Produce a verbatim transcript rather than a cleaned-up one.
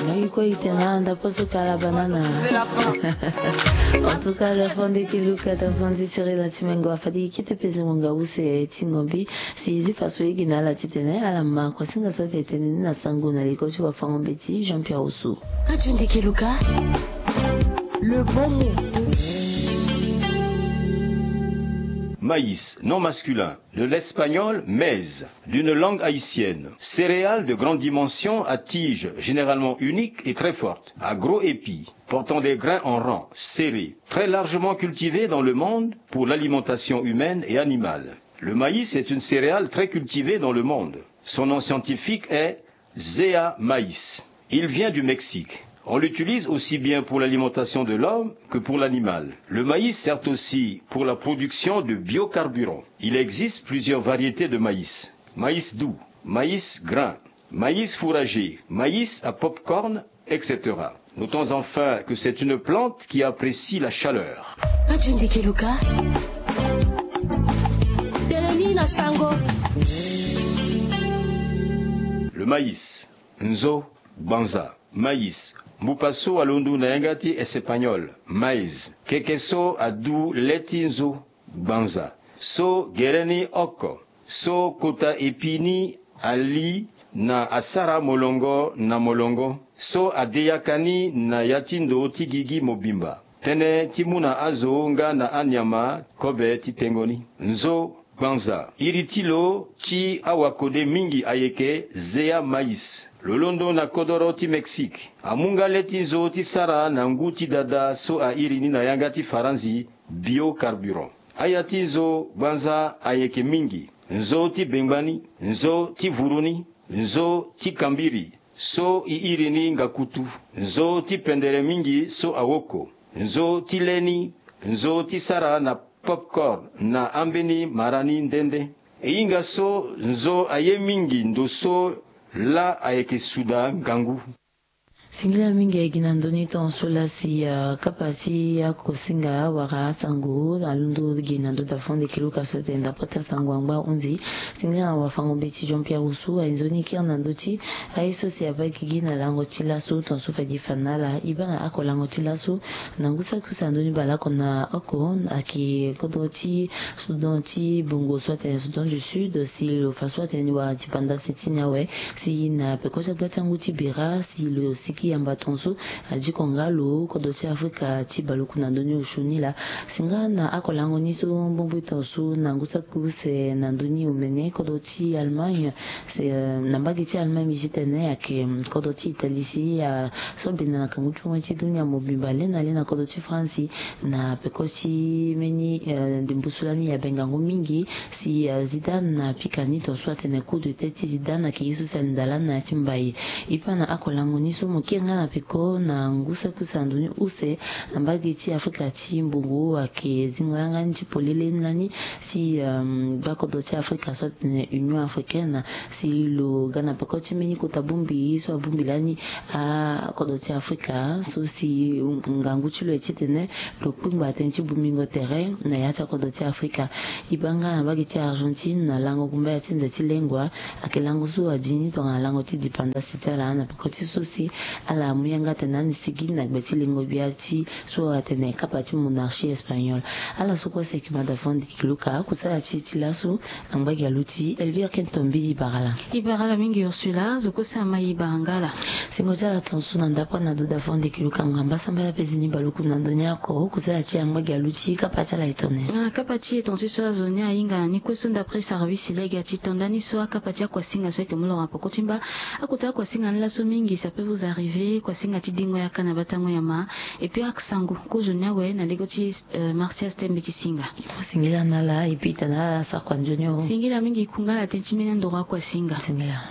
Ngai kue e tene na anda poso kala banana. En tout cas, da fo nde ki luka, da fo nde sirila ti mengo afadi kite peze ngonga use ti ngombi. Si zi faso ye gi na ala ti tene ala ma kua singa so ate tene ni na sango na liko ti wafango mbeti Jean Pierre Osu. Ka ti nde ki luka. Le bon mot. Maïs, nom masculin, de l'espagnol maíz, d'une langue haïtienne. Céréale de grande dimension à tige généralement unique et très forte, à gros épis, portant des grains en rang, serrés, très largement cultivée dans le monde pour l'alimentation humaine et animale. Le maïs est une céréale très cultivée dans le monde. Son nom scientifique est Zea maïs. Il vient du Mexique. On l'utilise aussi bien pour l'alimentation de l'homme que pour l'animal. Le maïs sert aussi pour la production de biocarburants. Il existe plusieurs variétés de maïs. Maïs doux, maïs grain, maïs fourragé, maïs à pop-corn, et cetera. Notons enfin que c'est une plante qui apprécie la chaleur. Ka ti nde ki luka. Tene ni na sango. Le maïs, nzo, gbanza. Maïs, mbupa so alondo na yanga ti espagnol, maíz. Keke so adu le ti nzo, gbanza. So gere ni oko. So kota epi ni ali na asara molongo na molongo. So ade yaka ni na ya ti ndo ti gigi mobimba. Tënë ti mu na azo nga na anyama kobe ti tengo ni. Nzo gbanza. Iri ti lo ti awakode mingi ayeke Zea maïs. Lo londo na kodoro ti Mexique. Amu nga le ti nzo ti sara na ngu ti dada so airi ni na yanga ti Faranzi biocarburant. Aya ti nzo gbanza ayeke mingi. Nzo ti bengbani, nzo ti vuru ni, nzo ti kambiri, so e iri ni ngakutu, nzo ti pendere mingi so awoko, nzo ti le ni, nzo ti sara na popcorn na ambeni mara ni nde nde. E hinga so nzo aye mingi ndo so laa ayeke suda ngangu. Singila mingi gi na ndö ni tongaso laa si, ah, kapa ti akosinga wala asango alondo gi na ndö da fo nde ki luka so tene ndapota sango angba hunzi. Singila na wafango mbeti Jean Pierre Osu aye nzoni kiri na ndö ti aye so si abaa gigi na lango ti laso tongaso fadi fa na ala. E baa na oko lango ti laso na ngu saki use na ndö ni baleoko na oko ayeke kodro ti Soudan ti Bongo so atene Soudan du Sud, si lo fa so atene ni wara dipanda si ti ni awe. Si na peko ti agba ti angu ti bira si lo siki yamba tongaso adiko nga lo kodro ti Afrika ti baluku na ndö ni osio ni laa. Si nga na oko lango ni so mbongboi tongaso na ngu saki use na ndö ni omene kodro ti Allemagne. Si, eh, na mbage ti Allemagne mbi ti tene ayeke, mm, kodro ti Italie si, ah, so abenda na kangu ti ongoi ti dunia mobimba le na le na kodro ti France. Na peko ti mbeni, eh, ndembo so lani e abe ngangu mingi si, eh, Zidane apika ni tongaso atene coup de tête ti Zidane ayeke ye so si alinda lani na ya ti mbai. E baa na oko lango ni so mo kiri nga na peko na ngu saki use na ndö ni use na mbage ti Afrika ti Mbongo ayeke zingo yanga ni ti polele ni lani si, eh, gba kodro ti Afrika so atene Union Africaine si lo ga na peko ti mbeni kota bongbi so abongbi lani akodro ti Afrika so si ngangu ti lo aye titene lo kpingba tënë ti bongbingo tere na ya ti akodro ti Afrika. E baa nga na mbage ti Argentine na lango gumbaya ti nze ti lengua ayeke lango so adi ni tongana lango ti dipanda si ti ala na peko ti so si ala amu yanga tene ani sigi na gbe ti lengo gbia ti so atene kapa ti monarchie espagnole. Ala so kue si ayeke mada fo ndiki luka kusala ti e ti laso. Angba gi aluti Elvire Kento Mbili Barala. E bara ala mingi Ursula, zo kue si ama e bara nga ala. Singo ti ala tongaso na ndapre na doda fo ndiki luka ngamba sambela pezeni baluku na ndö ni oko kusala ti angba gi aluti kapa ti ala e tone. Ah, kapa ti e tongaso so azo ni ahinga na ni kue so ndapre service lege ati tonda ni so akapa ti akuasinga so ayeke mu loro na peko ti mba. Akota akuasinga ni laso mingi ça peut vous arriver, kuasinga ti dingo yaka na batango nyama. Et puis aksango kozo ni awe na lege ti, euh, Martial Stembe ti singa. Singila na ala, et puis tana ala sakua nzoni o. Singila mingi kunga ala tënë ti mbeni andoro akuasinga. Singila.